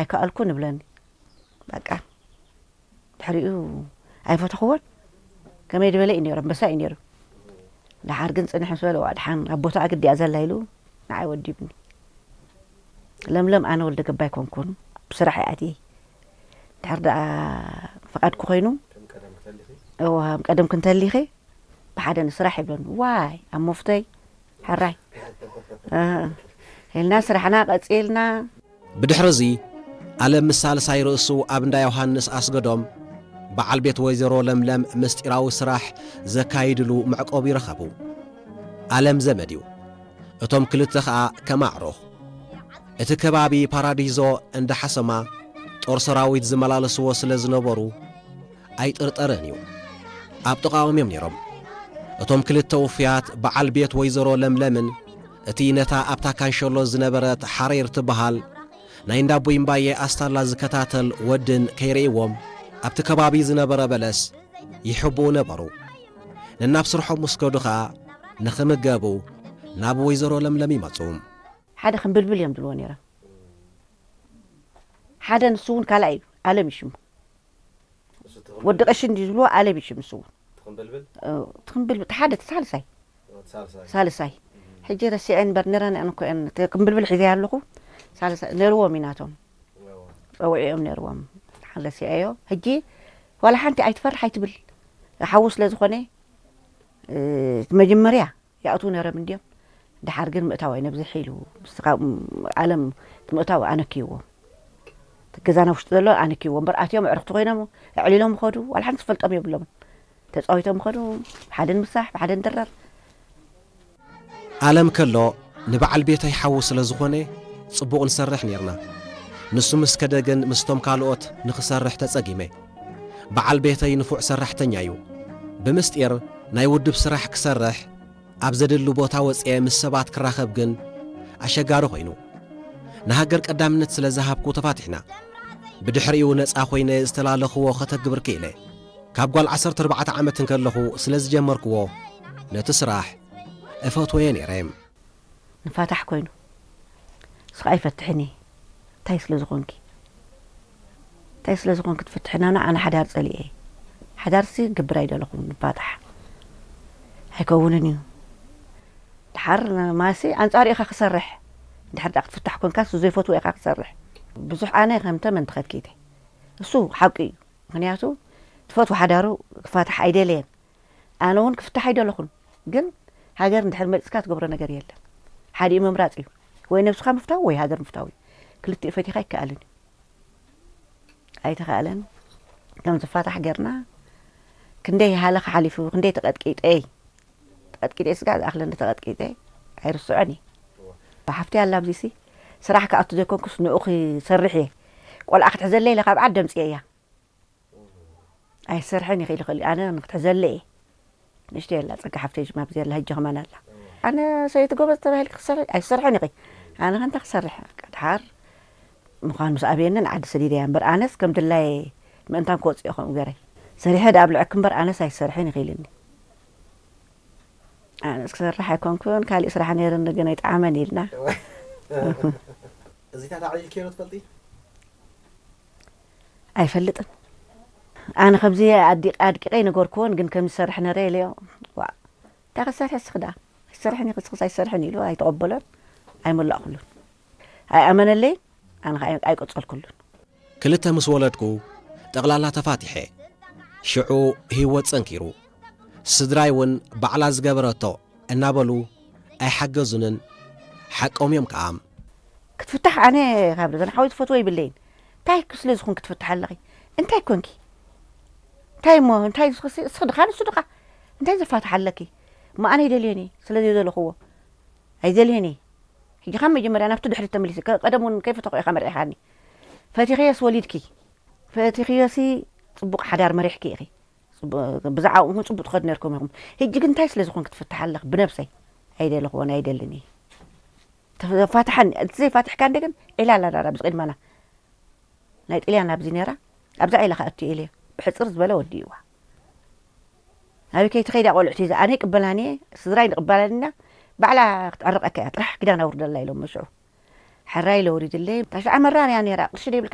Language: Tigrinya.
ኣይከኣልኩን እብለኒ። በቃ ድሕሪኡ ኣይፈተኽዎን። ከመይ ዝበለ እዩ ነይሩ፣ ኣንበሳ እዩ ነይሩ። ደሓር ግን ጽንሕ ምስ በለ፣ "ዋ፣ ደሓን ኣብ ቦታኣ ግዲ እያ ዘላ" ኢሉ ንዓይ ወዲብኒ። ለምለም ኣነ ወልደ ገባይ ኮንኩን፣ ብስራሕ እየ ኣትየ። ድሕር ደኣ ፍቓድኪ ኮይኑ፣ ከም ቀደም ክተሊኺ? እዋ፣ ከም ቀደም ክንተሊኺ፣ ብሓደ ንስራሕ ይብለኒ። ዋይ፣ ኣብ መፍቶይ፣ ሕራይ። እ፣ ኢልና ስራሕና ቀጺልና። ብድሕሪ እዚ፣ ኣለም ምስ ሳልሳይ ርእሱ ኣብ እንዳ ዮሃንስ ኣስገዶም፣ በዓል ቤት ወይዘሮ ለምለም ምስጢራዊ ስራሕ ዘካይድሉ መዕቆቢ ረኸቡ። ኣለም ዘመድ እዩ። እቶም ክልተ ኸኣ ከም ኣዕሩኽ። እቲ ከባቢ ፓራዲዞ እንዳ ሓሰማ ጦር ሰራዊት ዝመላለስዎ ስለ ዝነበሩ ኣይጥርጠርን እዩ። ኣብ ጥቓኦም እዮም ነይሮም። እቶም ክልተ ውፉያት በዓል ቤት ወይዘሮ ለምለምን እቲ ነታ ኣብታ ካንሸሎ ዝነበረት ሓሬር ትበሃል ናይ እንዳ ቡይምባየ ኣስታላ ዝከታተል ወድን ከይርእይዎም ኣብቲ ከባቢ ዝነበረ በለስ ይሕብኡ ነበሩ። ነናብ ስርሖም ምስ ከዱ ኸኣ ንኽምገቡ ናብ ወይዘሮ ለምለም ይመጹ። ሓደ ክምብልብል እዮም ዝብልዎ ነይሮም። ሓደ ንሱ እውን ካልኣይ እዩ፣ ኣለም እዩ ሽሙ። ወዲ ቀሺ እንዲ ዝብልዎ ኣለም እዩ ሽሙ ንሱ እውን። ትኽምብልብል? እ፣ ትኽምብልብል፣ ሓደ ሳልሳይ። እ፣ ሳልሳይ። ሳልሳይ። ሕጂ ረሲዐ እምበር ነረን እኮ እየን፣ እቲ ክምብልብል ሒዘ ኣለኹ። ሳልሳይ ነርዎም እዩ ናቶም። እዋ። ጸውዒኦም ነርዎም። ሓን ረሲዐዮ። ሕጂ ዋላ ሓንቲ ኣይትፈርሕ ኣይትብል። ሓዉ ስለ ዝኾነ፣ እ፣ እቲ መጀመርያ ይኣትዉ ነይሮም እንድዮም። ደሓር ግን ምእታው ኣይነብዝሕ ኢሉ፣ ምስ ካብ ኣለም እቲ ምእታው ኣነክይዎም። እቲ ገዛና ውሽጢ ዘሎ ኣነክይዎም። እምበር ኣትዮም ኣዕርኽቲ ኮይኖም ኣዕሊሎም ይኸዱ። ዋላ ሓንቲ ዝፈልጦም የብሎምን። ተጻዊቶም ይኸዱ። ብሓደ ንምሳሕ፣ ብሓደ ንድረር። ኣለም ከሎ ንበዓል ቤተይ ሓዉ ስለ ዝኾነ ጽቡቕ ንሰርሕ ኔርና። ንሱ ምስ ከደ ግን ምስቶም ካልኦት ንኽሰርሕ ተጸጊመ። በዓል ቤተይ ንፉዕ ሰራሕተኛ እዩ። ብምስጢር ናይ ውድብ ስራሕ ክሰርሕ ኣብ ዘድሊ ቦታ ወጽኤ ምስ ሰባት ክራኸብ ግን ኣሸጋሪ ኮይኑ። ንሃገር ቀዳምነት ስለ ዝሃብኩ ተፋቲሕና። ብድሕሪኡ ነጻ ኮይነ ዝተላለኽዎ ከተግብር ክኢለ። ካብ ጓል ዓሰርተ ኣርባዕተ ዓመት እንከለኹ ስለ ዝጀመርክዎ ነቲ ስራሕ እፈትወዮ ነይረ። ንፋታሕ ኮይኑ። ንስኻ ኣይፈትሕን እየ። እንታይ ስለ ዝኾንኪ? እንታይ ስለ ዝኾንኪ ትፍትሕና? ኣነ ሓዳር ጸሊኤ። ሓዳርሲ ክገብር ኣይደለኹን፣ ንፋታሕ። ኣይከውንን እዩ። ድሓር ማሲ ኣንጻሩ ኢኻ ክሰርሕ። ድሓር ደኣ ክትፍታሕ ኮንካ፣ እሱ ዘይፈትዎ ኢኻ ክሰርሕ። ብዙሕ ኣነ ከም ተመን ተኸትኪተ። እሱ ሓቂ እዩ። ምኽንያቱ ትፈትዎ ሓዳሩ ክፋታሕ ኣይደለየን። ኣነ እውን ክፍታሕ ኣይደለኹን። ግን ሃገር እንድሕር መጺእካ ትገብሮ ነገር የለን። ሓዲኡ ምምራጽ እዩ። ወይ ነብስኻ ምፍታው ወይ ሃገር ምፍታው እዩ። ክልቲኡ ፈቲኻ ኣይከኣልን እዩ። ኣይተኻእለን። ከም ዝፋታሕ ጌርና ክንደይ ሃለኸ ሓሊፉ፣ ክንደይ ተቐጥቂጠይ። ተቐጥቂጠ ስጋ ዝኣኽለኒ ተቐጥቂጠ። ኣይርስዖን እየ። ብሓፍቲ ኣላ ኣብዚሲ ስራሕ ክኣቱ ዘይኮንኩስ ንኡ ክሰርሕ እየ። ቆልዓ ክትሕዘለይ ኢለ ካብ ዓዲ ኣምጽኤ እያ። ኣይሰርሕን ይኽእል ይኽእል። ኣነ ንክትሕዘለ እየ። ንእሽተይ ኣላ ጸጋ ሓፍተይ ጅማ ኣብዚ ኣላ፣ ሕጂ ከማን ኣላ። ኣነ ሰበይቲ ጎበዝ ተባሂልኪ ክሰርሒ ኣይሰርሕን ኢኺ። ኣነ ከ እንታይ ክሰርሕ? በቃ ድሓር ምዃን ምስ ኣብየንን ዓዲ ሰዲደያ እምበር፣ ኣነስ ከም ድላየ ምእንታን ክወጽእ እየ ከምኡ ገይረ። ሰሪሐ ደኣ ኣብልዐኪ እምበር ኣነስ ኣይሰርሕን ኢኺ ኢልኒ። ኣነስ ክሰርሕ ኣይኮንኩን፣ ካሊእ ስራሕ ነይርኒ ግን ኣይጠዓመን ኢልና። እዚታት ኣዕሊልክዮ ዶ ትፈልጢ? ኣይፈልጥን። ኣነ ከምዚ ኣዲ-፣ ኣድቂቐ ኣይነገርክዎን፣ ግን ከም ዝሰርሕ ነረ ኢለዮ። ዋእ፣ እንታይ ክትሰርሒ እስኺ ደኣ? ኣይትሰርሕን ኢኺ፣ እስኽስ ኣይትሰርሕን ኢሉ ኣይተቐበሎን፣ ኣይመላእኩሉን። ኣይኣመነለይን፣ ኣነ ኸኣ ኣይ-፣ ኣይቀጸልኩሉን። ክልተ ምስ ወለድኩ፣ ጠቕላላ ተፋቲሐ። ሽዑ ህይወት ጸንኪሩ። ስድራይ እውን ባዕላ ዝገበረቶ እናበሉ ኣይሓገዙንን፣ ሓቆም እዮም ከኣ። ክትፍታሕ ኣነ ካብ ደገን ሓወይ ትፈትዎ ይብለይን። እንታይ ስለ ዝኾንኪ ክትፍታሕ ኣለኺ? እንታይ ኮንኪ? እንታይ እሞ፣ እንታይ ንስኺ፣ ንስኺ ድኻ፣ ንሱ ድኻ? እንታይ ዘፋትሕ ኣለኪ? እሞ ኣነ ኣይደልዮን እየ፣ ስለ ዘይደለኽዎ። ኣይደልዮን እየ። ሕጂ ካብ መጀመርያ ናብቲ ድሕሪት ተመሊሰ፣ ከ-፣ ቀደም እውን ከይፈተኹ ኢኻ መሪሕኻኒ። ፈቲኽዮስ ወሊድኪ። ፈቲኽዮሲ ጽቡቕ ሓዳር መሪሕኪ ኢኺ። ጽቡ-፣ ብዛዕባኡ እውን ጽቡቕ ትኸዱ ነርኩም ኢኹም። ሕጂ ግን እንታይ ስለ ዝኾንኪ ትፍትሕ ኣለኺ? ብነብሰይ ኣይደለኽዎን ኣይደልን እየ። ተፋትሓኒ፣ እቲ ዘይፋትሕካ እንደ ግን ዒላ ኣላ ዳራ ኣብዚ ቅድመና። ናይ ጥልያን ኣብዚ ነይራ፣ ኣብዛ ዒላ ከኣ እትዩ ኢለዮ። ብሕጽር ዝበለ ወዲእዋ። ኣበይ ከይትኸይዳ ቆልዑት ሒዛ፣ ኣነ ይቅበላን እየ፣ ስድራይ ንቅበላን ኢና፣ ባዕላ ክትዕርቀካ እያ፣ ጥራሕ ክዳን ኣውርደላ ኢሎም መሽዑ። ሕራይ ኢለ ወሪድለይ። ታሽዓ መራር እያ ነይራ፣ ቅርሺ ደይብልካ